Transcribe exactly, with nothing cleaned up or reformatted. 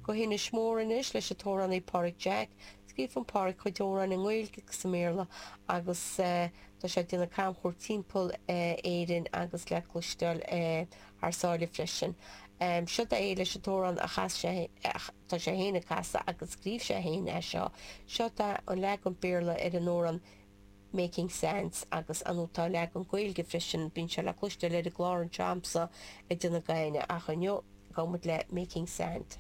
Go hInis Mór anois leis an t-amhránaí Páraic Jack. Scríobhann Páraic cuid amhrán i nGaeilge agus i mBéarla agus tá sé ag déanamh camchuairt timpeall Éirinn agus le cloisteáil thar sáile freisin. Seo é leis an t-amhrán a chas sé tá sé féin ag casadh agus scríobh sé féin é seo. Seo tá an leagan Béarla ar an amhrán Making Sense agus an tá leagan Gaeilge freisin bíonn sé le cloisteáil ar an gclár anseo a'msa ag déanamh gaine ach inniu gabhfaidh muid le Making Sand.